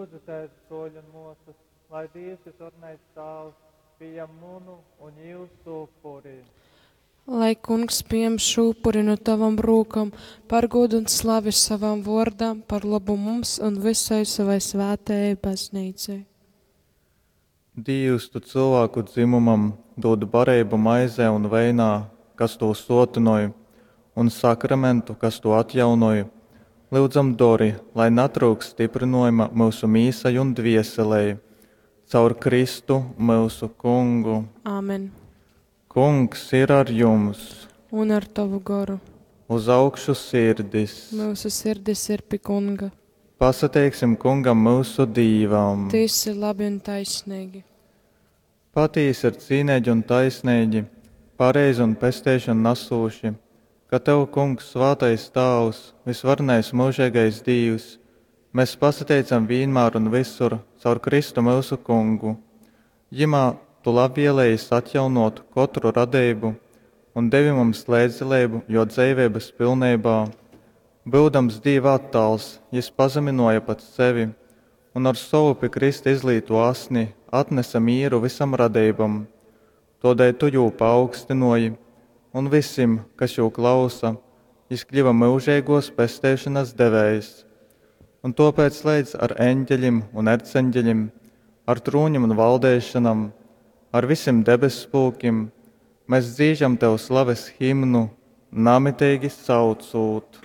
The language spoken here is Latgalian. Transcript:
Lūdzitēs, bruoļi un muosys, lai Dīvs Vysvarenais Tāvs pījam munu un jūsu upuri. Lai Kungs pieņem šo upuri no tavam rūkam par godu un slavi savam vōrdam, par lobu mums un visai savai svētajai baznīcai. Dīvs, tu cylvāku dzymumam dūd bareibu maizē un veinā, kas tū sōtynoj, un sakramentu, kas tū atjaunoj, lyudzam dori, lai natryukst styprynōjuma myusu mīsai un dvieselei. Caur Kristu, myusu Kungu. Āmen. Kungs ir ar jums! Un ar tavu goru. Uz augšu sirdis! Myusu sirdis ir pi Kunga. Pasateiksim Kungam myusu Dīvam! Tys ir labi un taisneigi. Patīsi ir cīneigi un taisneigi, pareizi un pesteišonu nasūši, ka tev, Kungs, svātais Tāvs, vysvarenais myužeigais Dīvs, mes pasateicam vīnmār un vysur caur Kristu myusu Kungu. Jymā tu labvielējis atjaunōt kotru radeibu un devi mums leidzdaleibu jō dzeiveibas pilneibā. Byudams Dīva attāls, jys pazamynōja pats sevi un ar sovu pi krysta izlītū asni atnese mīru vysam radeibom. Tōdēļ tu jū paaugstynōji, un vysim, kas jū klausa, jys kļyva myužeigōs pesteišonas devējs. Un tōpēc leidz ar eņgelim un erceņgelim, ar trūnim un valdeišonam, ar vysim debesspulkim mes dzīžam tev slaves himnu, namiteigi saucūt.